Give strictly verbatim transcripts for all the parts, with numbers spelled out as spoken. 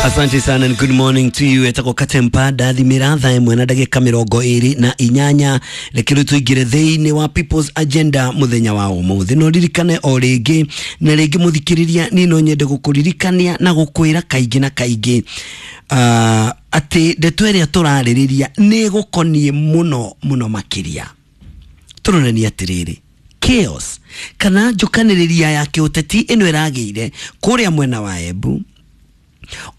Asante sana and good morning to you. Etagwo Katempa ndathimĩra thaa ĩmwe na ndagĩka mĩrongo ĩrĩ na inyanya. Reke rĩu tũingĩre thĩinĩ wa People's Agenda mũthenya wa ũmũthĩ. No ririkane o rĩngĩ na rĩngĩ mũthikĩrĩria, niĩ no nyende gũkũririkania na gũkwĩra kaingĩ na kaingĩ uh, atĩ ndeto ĩrĩa tũrarĩrĩria nĩ ĩgũkoniĩ mũno mũno makĩria. Tũronania atĩrĩrĩ, chaos kana njũkanĩrĩria ya kĩũteti ĩno ĩragĩire kũrĩa mwena wa Embu,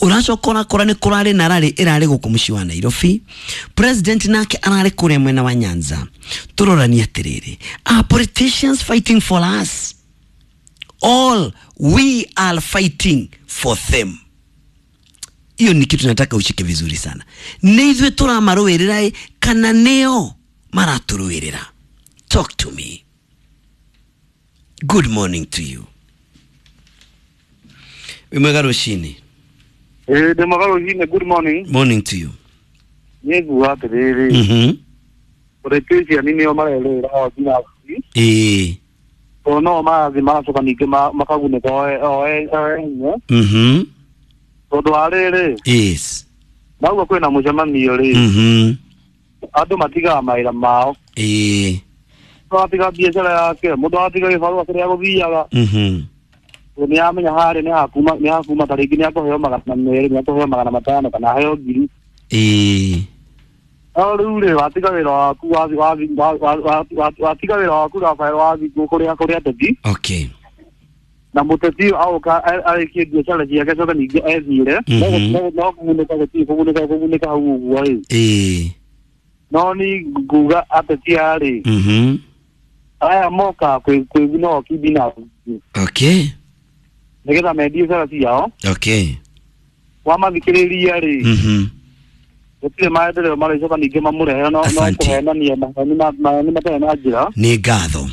ũracoka ũrakora nĩ kũrarĩ na rarĩ ĩrarĩ gũkũ mũciĩ wa Nairobi, president nake ararĩ kũrĩa mwena wa Nyanza. Tũrorania atĩrĩrĩ, are politicians fighting for us? All we are fighting for them. Hiyo ni kitu nataka ushike vizuri sana. Nĩ ithuĩ tũramarũĩrĩra ĩ kana nĩo maratũrũĩrĩra? Talk to me. Good morning to you. Wĩ mwega rũcinĩ. Ĩĩ, ndĩ mwega rũcinĩ, good morning. Morning to you. Niĩ nguga atĩrĩrĩ, Mhm. politician nĩo marerũĩra o binafsi, Ĩĩ. tondũ no marathiĩ magacoka ningĩ ma- makagunĩka o e- o e- o enye, Mhm. tondũ wa rĩrĩ, Yes. mauga kwĩna mũcemanio rĩ, Mhm. andũ matigaga mawĩra mao, Ĩĩ. mũndũ agatiga biacara yake, mũndũ agatiga gĩbarũa kĩrĩa gũthiaga, Mhm. tondũ nĩ amenya harĩa nĩ hakuma nĩ hakuma ta rĩngĩ nĩ akũheo magana merĩ, nĩ akũheo magana matano kana aheo ngiri. Ĩĩ. No rĩu rĩ, watiga wĩra waku wathi wathi wa- wa- wa- wa- watiga wĩra waku Rafael, wathi kũrĩa kũrĩa ateti, Okay. na mũteti ũyũ aũka arĩkie biacara ciake, acoke ningĩ ethiĩre, Mhm. no no kũgunĩka gũtirĩ kũgunĩka kũgunĩka hau ũguo rĩ. Ĩĩ. No ni nguga ateti aya rĩ, Mhm. aya moka kwĩ kwĩguna o kibinafsi, Okay. nĩgetha mendie biacara ciao. Okay. Wamathikĩrĩria rĩ, Mhm. gũtirĩ maendeleo marĩcoka ningĩ mamũrehe, no no Asante. kũhenania maheni ma- maheni matarĩ na njĩra. Nĩ ngatho.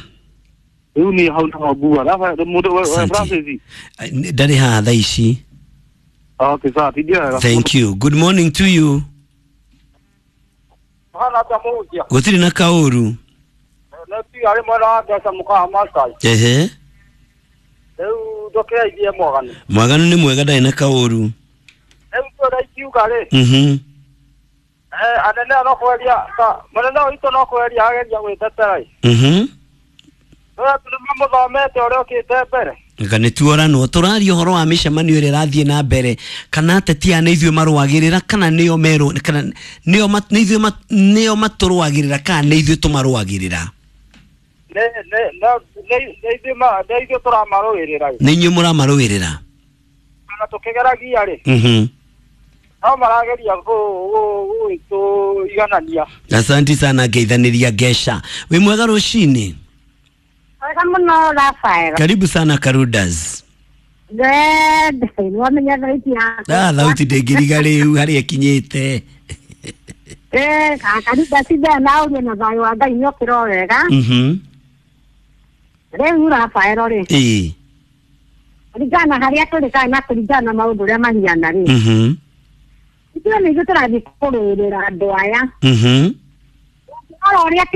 Rĩu niĩ hau niho nguga Rafael, mũndũ we- we- Asante. Francis. Ndarĩ haha thaa ici. Okay, sawa, tindia wega. Thank you. Good morning to you. Hana atĩa mũhunjia? Gũtirĩ na kaũru. Nĩ tiga arĩ mwena wa mbeca mũkawa Masai. Ehe. Rĩu ndũkĩaithie mwaganu. Mwaganu nĩ mwega, ndarĩ na kaũru. Rĩu tũrĩa ikiuga rĩ, Mhm. eh, anene no kweria ta mũnene witũ no kweria ageria gwĩtetera ĩ. Mhm. Tũrĩa tũ nĩmamũthomete ũrĩa ũkĩte mbere. Nga nĩ tuoranwo tũraria ũhoro wa mĩcemanio ĩrĩa ĩrathiĩ na mbere, kana ateti aya nĩ ithuĩ marũagĩrĩra kana nĩo merũ kana nĩo ma- nĩ ithuĩ ma- nĩo matũrũagĩrĩra kana nĩ ithuĩ tũmarũagĩrĩra? Nĩ nĩ no- nĩ nĩ ithuĩ ma- nĩ ithuĩ tũramarũĩrĩra ĩ. Nĩ inyuĩ mũramarũĩrĩra. Kana tũkĩgeragia rĩ, Mhm. no marageria gũ- gũ- gũgĩtũiganania. Asanti sana, ngeithanĩria ngeca. Wĩ mwega rũcinĩ. Wega mũno Rafael. Karibu sana, Karudas. Good. Wamenya thauti yakwa. Ah, thauti ndĩngĩriga rĩu harĩa ĩkinyĩte. Eh, karuda cithaa na ũrie na thayũ wa Ngai nĩ ũkĩra o wega. Mhm. Rĩu Rafael rĩ, Ĩĩ. kũringana na harĩa tũrĩ kana na kũringana na maũndũ ũrĩa mahiana rĩ, Mhm. ithuĩ nĩ ithuĩ tũrathiĩ kũrũĩrĩra andũ aya. Mhm. Ũrora ũrĩa